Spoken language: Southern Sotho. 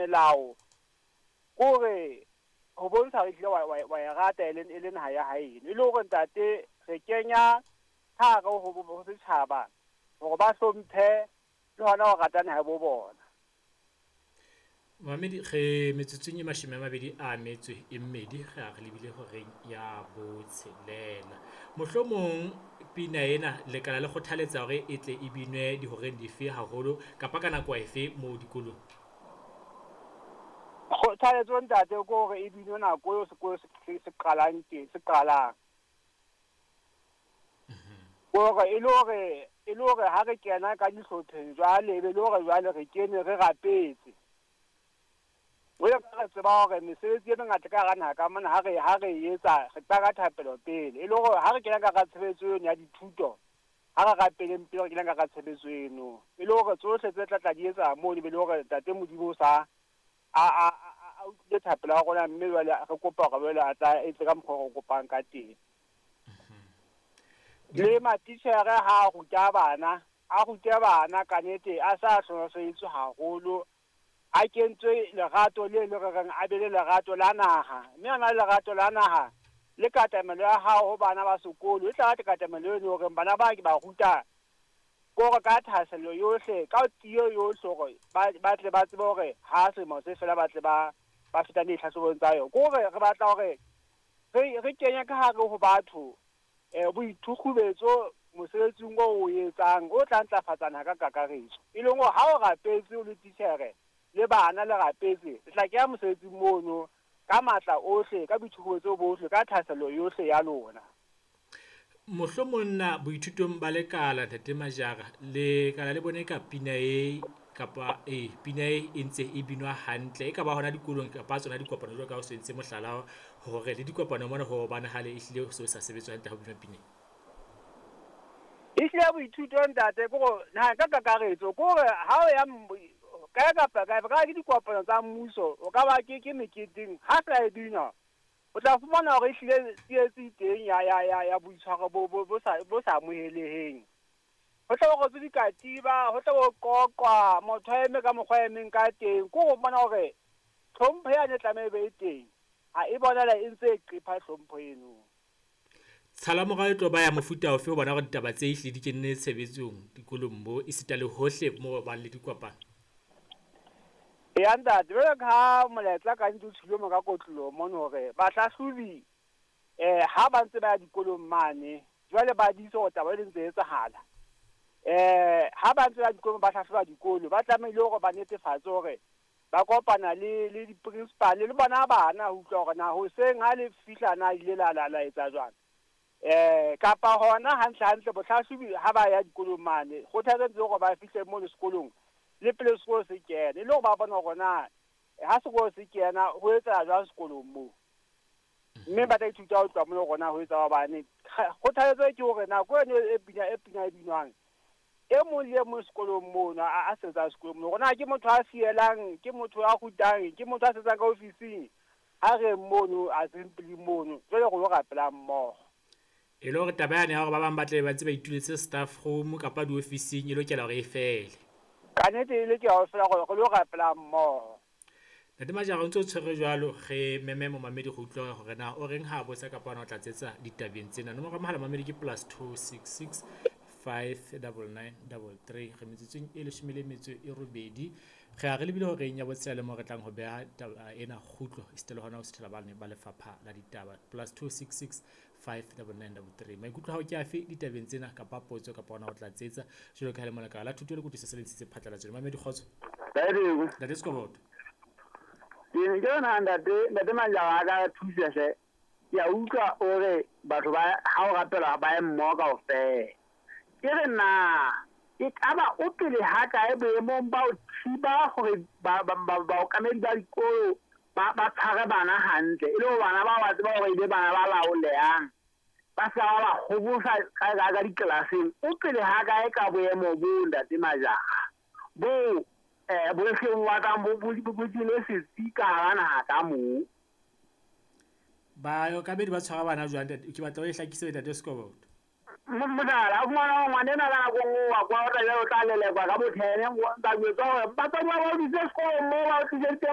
Melao ke hore ho bontsha hore ehlile wa e rata e le naha ya haeno. E le hore ntate re kenya ka hare ho setjhaba hore ba hlomphe le hona ho rata naha ya bo bona. Mamedi re metsotsong e 22 re a re lebile horeng ya botshelela. Mohlomong pina ena lekala le kgothaletsa hore e tle e binwe dihoreng dife haholo kapa ka nako efe moo dikolong? Kgothaletso ntate ke hore e binwe nako eo sekolo se qalang teng, se qalang. Hore e le hore ha re kena ka dihlopheng jwale, e be le hore jwale re kene re rapetse. Jwalo ka re tseba hore mesebetsi e mengata ka hara naha ka mona ha re etsa re qala ka thapelo pele. E le hore ha re kena ka hara tshebetso eno ya dithuto, ha re rapeleng pele re kena ka hara tshebetso eno. E le hore tsohle tse tla tla di etsa mono, e be le hore ntate Modimo o sa a utlwile thapelo ya rona, mme jwale re kopa hore jwale a tla etse ka mokgwa o re kopang ka teng. Le matitjhere ha a ruta bana, a rute bana ka nnete, a sa hlohlelletswe haholo, a kentswe lerato le le re reng a be le lerato la naha, mme a na le lerato la naha le katamelo ya hao ho bana ba sekolo e tla ba katamelo eno hore bana ba ke ba ruta kore ka thahasello yohle, ka tiyo yohle hore ba tle ba tsebe hore ha selemo se fela ba tle ba feta ditlhahlobong tsa yona. Ke hore re batla hore re kenye ka hare ho batho boithukgubetso mosebetsing o o etsang o tla ntlafatsa naha ka kakaretso. E leng hore ha o rapetse o le titjhere le bana le rapetse, le tla kenya mosebetsing mono ka matla ohle, ka boithukgubetso bohle, ka thahasello yohle ya lona. Mohlomong na boithutong ba lekala Ntate Majara, lekala le bone ka pina e kapa pina e ntse e binwa hantle e ka ba hona dikolong kapa tsona dikopano jwalo ka o sentse mohlala hore le dikopano mona ho bonahale ehlile ho se sa sebetswa hantle ha ho binwa pina. Ehlile boithuto ntate ke hore naha ka kakaretso ke hore ha o ya kae kapa kae, ka ke dikopano tsa mmuso, o ka ba ke meketeng ha fela e binwa, o tla fumana hore ehlile tsietsi teng ya boitshwaro bo sa amoheleheng. Ho tla bo rotswe dikatiba, ho tla bo qoqwa, motho a eme ka mokgwa a emeng ka teng. Ke ho bona hore tlhompho yane e tlameha e be e teng, ha e bonala e ntse e qepha hlompho eno. Tshalamorao e tlo ba ya mofuta ofe ho bona hore ditaba tse ehlile di kenne tshebetsong dikolong mo esita le hohle mo bang le dikopano? Ya ntate, jwalo ka ha molaetsa ka ntse o tshwile mo ka kotloloho mono hore bahlahlobi ha ba ntse ba ya dikolong mane, jwale ba dise hore taba e ntse e etsahala. Ha ba ntse ba dikolong ba hlahloba dikolo, ba tlamehile hore ba netefatse hore ba kopana le di-principal le bona bana ho utlwa hore na hoseng ha le fihla na ile la etsa jwang. Kapa hona hantle hantle bohlahlobi ha ba ya dikolong mane, kgothaletso hore ba fihle mono sekolong le pele sekolo se kena, e le hore ba bona hore na ha sekolo se kena ho etsahala jwang sekolong moo, mme ba tla ithuta ho tloha mono hore na ho etsa hobane. Kgothaletso ke hore nako eno e pina e binwang, e mong le e mong sekolong mono a sebetsang sekolong mono, hore na ke motho a fielang, ke motho a rutang, ke motho a sebetsang ka ofising, ha re mono assembly mono, jwale re lo rapelang mmoho. E le hore taba yane ya hore ba bang ba tle ba ntse ba ituletse staff room kapa diofising e lokela hore e fele. Ka nnete e lokela ho fela hore re lo rapelang mmoho. Ntate Majara, o ntse o tshwere jwalo, re meme momamedi go utlwa hore na o reng ha botsa kapa ona o tla tsetsa ditabeng tsena. Nomoro ya mohala mamedi ke +266 599 33. Re metsotsong e 18. Re a re lebile horeng ya botshelela le mo re tlang ho beha taba ena kgutlo esita le hona ho sethela bane ba lefapha la ditaba. +266 599 33. Maikutlo hao ke afe ditabeng tsena kapa potso kapa hona ho tla tsetsa jwalo ka ha le molekala la thuto le kutlwisiso se le ntshitse phatlalatso. Mamedi kgotso. Ntate Sekoboto. Ke ne ke yona ntate Majara a ka thusa hle. Ke a utlwa o re batho ba ha o rapela ba ye mmoho kaofela. Ke re na e kaba o pele ha kae boemong ba ho thiba hore baokamedi ba dikolo ba tshware bana hantle, e le hore bana ba ba tseba hore e be bana ba laolehang, ba sa ba kgobosa ka diklaseng. O pele ha kae ka boemo bo Ntate Majara bo bo seng wa kang bo jele setsi ka hara naha ka moo? Baokamedi ba tshwara bana jwang? Ke batla o e hlakise Ntate Sekoboto. Mohlala, o fumana hore ngwana enwa ka nako e nngwe wa kwa o tla jwale o tla lelekwa ka bo 10, ba jwetswa hore batswadi ba ba o tlise sekolong moo ba o tliseditseng.